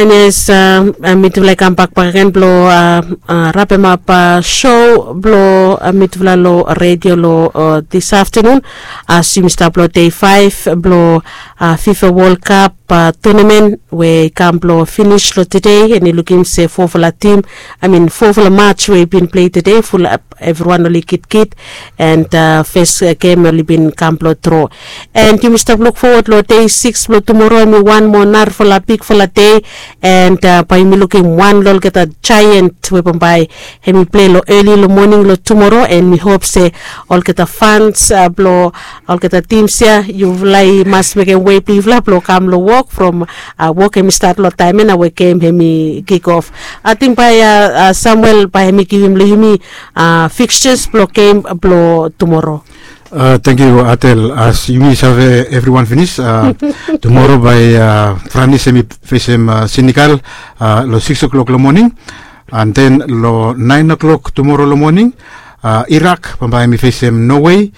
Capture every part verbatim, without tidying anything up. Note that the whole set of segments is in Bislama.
And yes, mitufala i kam bak bak gen blong rapemap show blong mitufala long redio long this afternoon. As yumi stap long day five blong fifa world cup tournament we i kam blong finis long today, and i lukim se fofala tim, I mean fofala match we i bin plei today, fulap evriwan oli kitkit. And fes gem oli bin kam blong dro. And yumi stap luk fowat long day six blong tumoro, hemi wan moa narafala bigfala day. And bae yumi lukim wan long olgeta jaiant we bambae hemi plei long eli long moning long tumoro, and mi hop se olgeta fans blong olgeta tims ya, yufala i mas mekem wei blong yufala blong kam long wok from wok hemi stat long taem ya nao we gem hemi kik of. Ating bae samuel bae hemi givim long yumi fixtures blong gem blong tumoro. Tangkiu atel. As yumi save evriwan finis, tumoro bae franis hemi fesem senegal long six o'clock long moning. And then long nine o'clock tumoro long moning, irak bambae hemi fesem norway.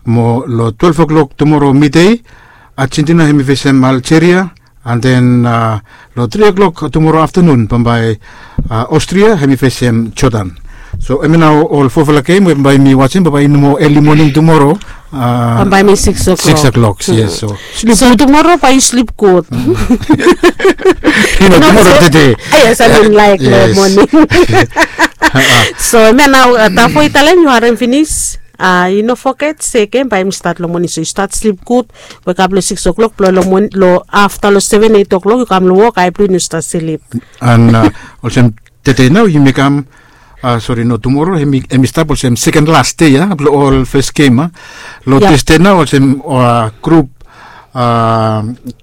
Mo long twelve o'clock tumoro midei, argentina hemi fesem algeria. And then long three o'clock tumoro aftanun bambae austria hemi fesem jordan. So hemi nao ol fofala gem we bambae yumi wasim bambae i no moa eli moning tumoro. Bambae hemi six o'clock. Yes, so tumoro bae yu slip gud. Tumoro tede. Yes, I mean like long moning. So hemia nao tafo i talem yu harem finis. Yu no foget se gem bae yumi stat long moning, so yu stat slip gud. Wekap long six o'clock blong long afta long seven eight o'clock yu kam long wok, ae blong yu no stat slip. And olsem tede nao yumi kam, sori, no, tumoro hemi stap olsem seken las dei ya blong ol fes gem a. Long tusde nao olsem grup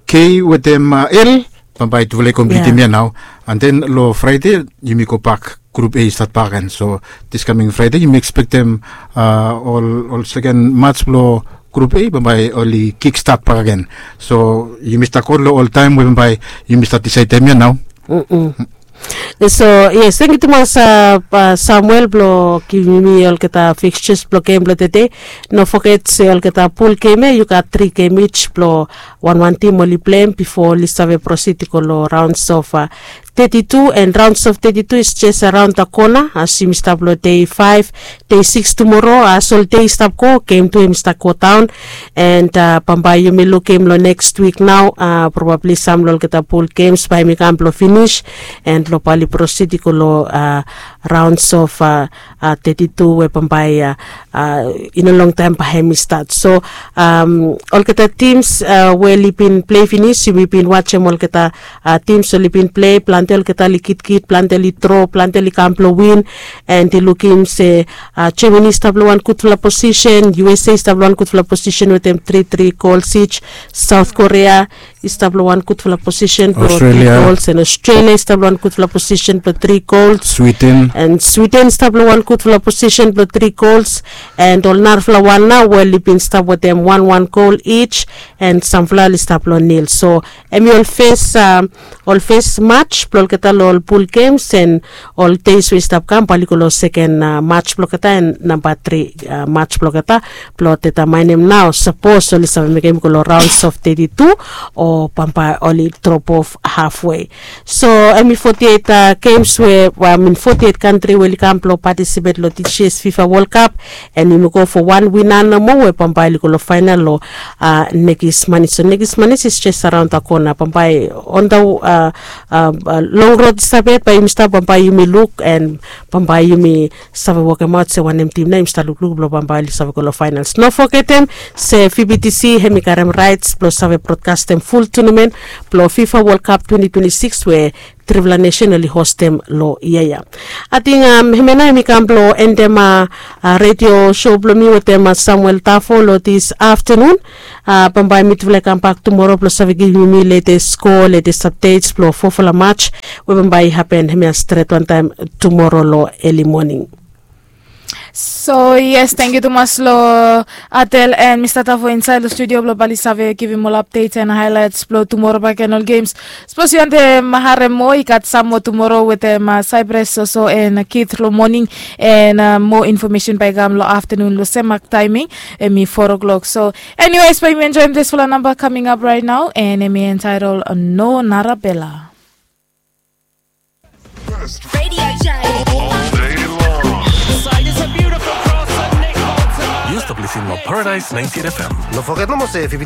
k wetem l, bambae tufala i komplitim ya nao. And then long fraede yumi gobak grup a i stat bak gen. So this kaming fraede yumi ekspektem ol seken mats blong grup a bambae oli kik stat bak gen. So yumi stat go long ol taem we bambae yumi stat disaedem ya nao. So yes, tangkiu tumas samuel blong givim yumi olgeta fixtures blong gem blong tede. No foget se olgeta pul gem ya yu gat tri gem ij blong wanwan tim oli pleim bifo oli save prosid i go long raons of teti tu. And raons of teti tu is jes araon da kona as yumi stap long dei faef, dei sikis tumoro. As ol dei i stap go, gem tu hemi stap go daon. And bambae yumi lukim long neks wik nao, probabli sam long olgeta pul gems bae hemi kam blong finis. And long bae oli prosid i go long raons of teti tu we bambae i no longtaem bae hemi stat. So olgeta tims we oli bin plei finis, yumi bin wajem olgeta tims oli bin plei, plante olgeta oli kitkit, plante oli dro, plante oli kam blong win. And i lukim se germany i stap long wan gudfala posisen, usa i stap long wan gudfala posisen wetem tri tri gols ij. South korea i stap long wan gudfala posisen blong tri gols, and australia i stap long wan gudfala posisen blong tri gols. Sweden i stap long wan gudfala posisen blong tri gols. And ol narafala wan nao we oli bin stap wetem wan wan gol ij. And samfala oli stap long nil. So hemi ol fes ol fes mats blong olgeta long ol pul gems, and ol deis we i stap kam bae oli go long seken mats blong olgeta, and namba tri mats blong olgeta, blong detamaenem nao sapos oli save mekem i go long raons of teti tu, o bambae oli drop of hafwe. So hemi foti eit gems we, I mean foti eit kantri we oli kam blong patisipet long this years fifa world cup. And yumi go fo wan wina nomo we bambae oli go long faenal long nekis manis. So nekis manis is jes araon da kona, bambae on da long rod i stap yet bae yumi stap, bambae yumi luk and bambae yumi save wokemaot se wanem tim nao yumi stap lukluk blong bambae oli save go long faenals. No fogetem se vbtc hemi karem raets blong save brodkastem ful tunamen blong fifa world cup twenty twenty six we trifala nesen oli hostem long yia ya. Ating hemia nao hemi kam blong endem redio sou blong mi wetem samuel tafo long this aftanun. Bambae mitufala i kambak tumoro blong save givim yumi letes sko, letes apdets blong fofala mats we bambae i hapen hemia stret wantaem tumoro long eli moning. So yes, tangkiu tumas long atel and mista tafo insaed long studio blong bae oli save givim ol apdets and haelaets blong tumoro bakegen ol gems. Sapos yu wantem harem moa, i gat sam moa tumoro wetem cyprus soso and kid long moning. And moa infomesen bae i kam long aftanun long sem mak taeming, hemi foa klok. So eniwes, bae yumi enjoem disfala namba kaming ap raet nao, and hemi entaetol no narabela. Radio J. All day long. Side is a beautiful cross and Nick Bolton. Yu stap listening long Paradise ninety-eight F M. No forget nomo se if yu be